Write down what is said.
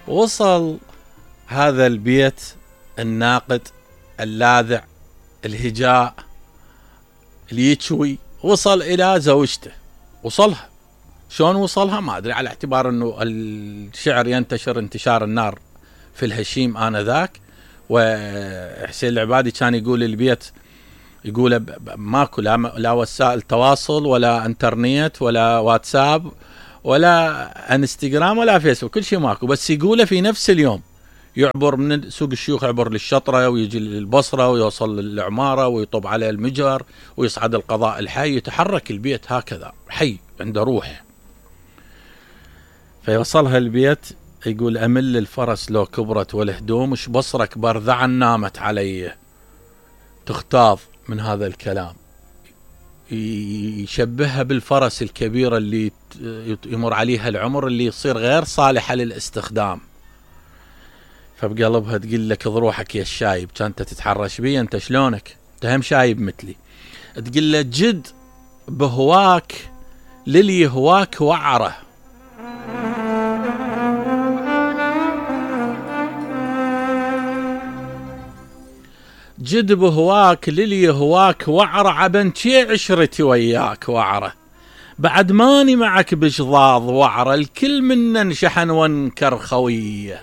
وصل هذا البيت الناقد اللاذع الهجاء اللي يتشوي، وصل إلى زوجته. وصلها شلون وصلها ما أدري، على اعتبار أنه الشعر ينتشر انتشار النار في الهشيم آنذاك. وحسين العبادي كان يقول البيت، يقول ماكو لا وسائل تواصل ولا انترنت ولا واتساب ولا انستغرام ولا فيسبوك، كل شيء ماكو، بس يقوله في نفس اليوم يعبر من سوق الشيوخ، يعبر للشطرة ويجي للبصرة ويوصل للعمارة ويطب على المجر ويصعد القضاء الحي، يتحرك البيت هكذا حي عنده روح. فيوصلها البيت يقول أمل الفرس لو كبرت والهدوم، اش بصرك برذعا نامت علي. تختاض من هذا الكلام، يشبهها بالفرس الكبيرة اللي يمر عليها العمر، اللي يصير غير صالحة للاستخدام. فبقلبها تقول لك ضروحك يا الشايب، كانت تتحرش بي انت شلونك، انت هم شايب مثلي. تقول له جد بهواك للي يهواك وعره. جد بهواك للي يهواك وعره، عبنتي عشرتي وياك وعره. بعد ماني معك بشضاض وعره، الكل منا انشحن وانكر خويه.